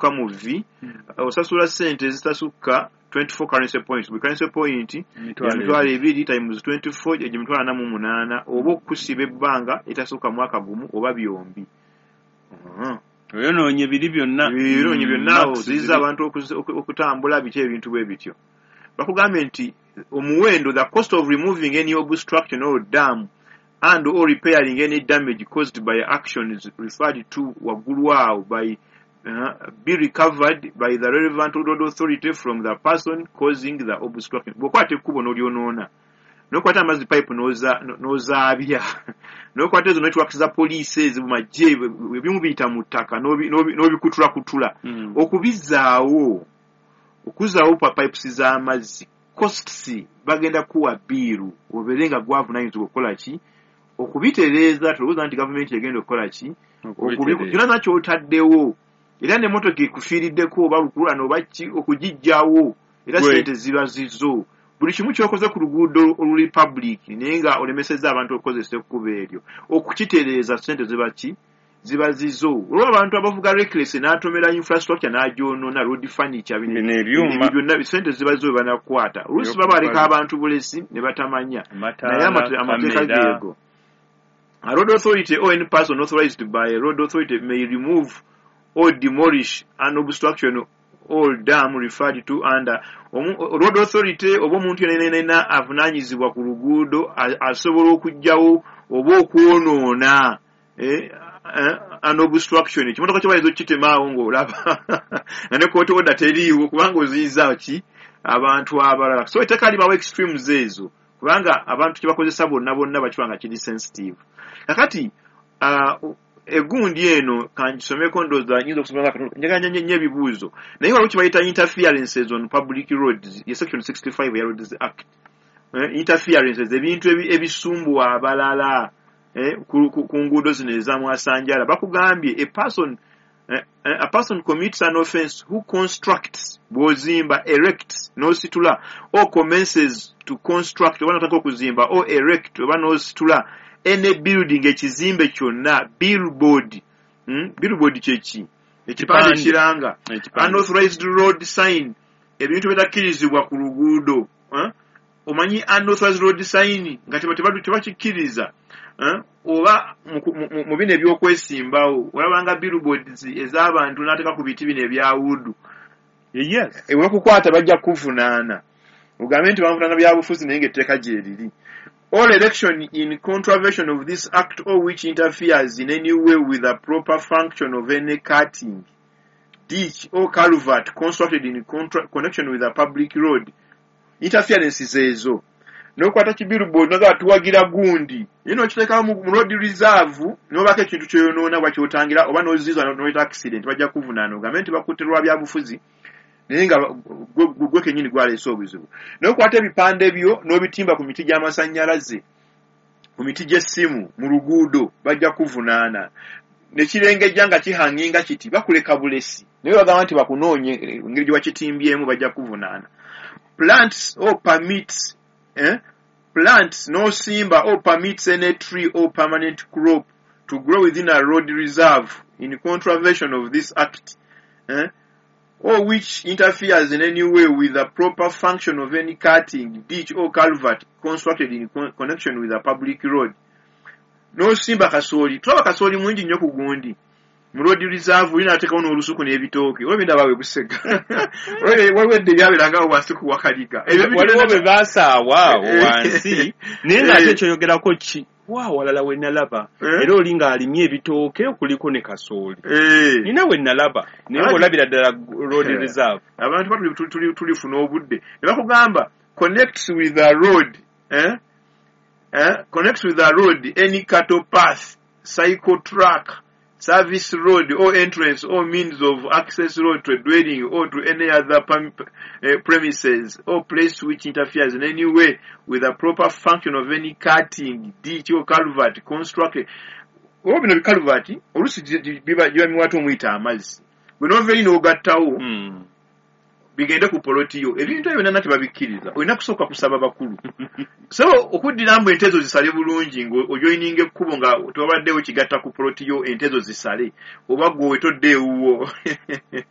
Mu V osasula ssente ezitasukka 24 currency points. Buli currency point 20,000 times 24, egyo 48,000, oba okusiba ebbanga etasukka mwaka gumu oba byombi. Oyonoonye biri byonna. Yonoonye byonna, oziyiza abantu okutambula, biki, ebintu bwe bityo. Bakugambye nti omuwendo, the cost of removing any obstruction or dam and or repairing any damage caused by actions referred to waggulu awo by be recovered by the relevant road authority from the person causing the obstruction. Bw'okwata ekkubo n'olyonoona, n'okwata amazzi pipe n'ozaabya, n'okwata ezo networks za poliisi ezo magye, ebimu biyita mu ttaka, n'obikutulakutula, okubizzaawo, okuzzaawo pipes z'amazzi, costs bagenda kuwa bill, obeere nga gwavunaanyizibwa okukola ki? Okubitereeza. Tolowooza nti gavumenti egenda okukola ki? Kyonna kyotaddewo, era n'emmotoka ekufiiriddeko oba lukululana oba ki, okugiggyawo era sente ziba zizo. Buli kimu kyokoze ku luguudo oluli public naye nga olemesezza abantu okukozesa ekkubo eryo, okukitereeza sente ziba ki? Ziba zizo. Olwo abantu abavuga reckless n'atomera infrastructure n'agyonoona, road furniture, ebyuma byonna, sente ziba zizo. Banakukwata, oluusi baba baleka abantu bulesi ne batamanya, naye amateeka geego. A road authority or any person authorized by a road authority may remove or demolish an obstruction or dam referred to under. Road authority oba omuntu yenna avunaanyizibwa ku luguudo asobola okuggyawo oba okwonoona an obstruction. Ekimotoka kyo bayinza okukitemaawo ng'olaba nga ne court order teriiwo, kubanga oziyiza ki? Abantu abalala. So etteeka libawo extremes ezo, kubanga abantu kyebakozesa bonna bonna bakiba nga kiri sensitive. Kakati egundi eno kangisomeko, ndowooza nyinza okusoma, njagala nnyo ebibuuzo, naye waliwo kibayita interferences on public roads, ye section 65 ya Roads Act. Interferences, ebintu ebisumbuwa abalala ku nguudo zino ezamwasanjala. Bakugambye a person commits an offense who constructs, bw'ozimba, erects, n'ositula, or commences to construct, oba notaka okuzimba, or erect, oba n'ositula, any building, ekizimbe kyonna, billboard, Billboard kyeki? Ekipande kiranga. Unauthorized road sign, ebintu bitakkirizibwa ku luguudo, eh? Omanyi unauthorized road sign nga tebakikkiriza, eh? Oba mu bino ebyokwesimbawo olabanga billboards ez'abantu n'ateeka ku biti bino ebya wood. Ebakukwata, bajja kukuvunaana, ogambe nti banvunaana byabufuzi, naye ng'etteeka gyeriri. All erection in contravention of this act or which interferes in any way with the proper function of any cutting, ditch or culvert constructed in connection with a public road. Interferences ezo, n'okwata kibillboard nogamba tuwagira gundi, naye n'okiteekawo mu road reserve, n'obaako ekintu kyoyonoona oba kyotangira oba n'oziza n'oleta accident, bajja kuvunaana, ogambe nti bakutte lwa byabufuzi, naye nga gwe kennyini gwaleese obuzibu. N'okwata ebipande byo n'obitimba ku miti gy'amasannyalaze, ku miti gy'essimu mu luguudo, bajja kuvunaana. Nekirengejja nga kihanginga kiti, bakuleka bulesi, naye bagamba nti bakunoonye engeri gye bakitimbyemu, bajja kuvunaana. Plants or permits, eh? Plants, n'osimba or permits any tree or permanent crop to grow within a road reserve in contravention of this act, eh? Or which interferes in any way with the proper function of any cutting, ditch or culvert constructed in connection with a public road. N'osimba kasooli, tulaba kasooli mungi nnyo ku gundi mu road reserve, olina ateekawo n'olusuku n'ebitooke, oba ebintu abawe busega, waliwo edda ebyabeerangawo wansi ku Wakaliga. Waliwo bwe baasaawa awo wansi, naye ng'ate kyoyogerako ki wa walala we nalaba, era oli ng'alimye ebitooke kuliko ne kasooli, nina we nalaba, naye ng'olabira ddala road reserve. Abantu ba tulifuna obudde ne bakugamba connects with the road, eh? Eh? Connects with the road any cattle path, cycle track, service road or entrance or means of access road to a dwelling or to any other premises or place which interferes in any way with the proper function of any cutting, ditch or culvert constructed. Oba bino bikaluvati oluusi biba miwato omuyita amazzi, bwe nova eri n'ogattawo bigende ku poloti yo. Ebintu ebyo byonna tebabikkiriza, olina kusooka kusaba bakulu. So okuddira mbu ente ezo zisale bulungi ng'ojoyininga ekkubo nga tewabaddewo kigatta ku poloti yo, ente ezo zisale, oba gwe wetodde ewuwo.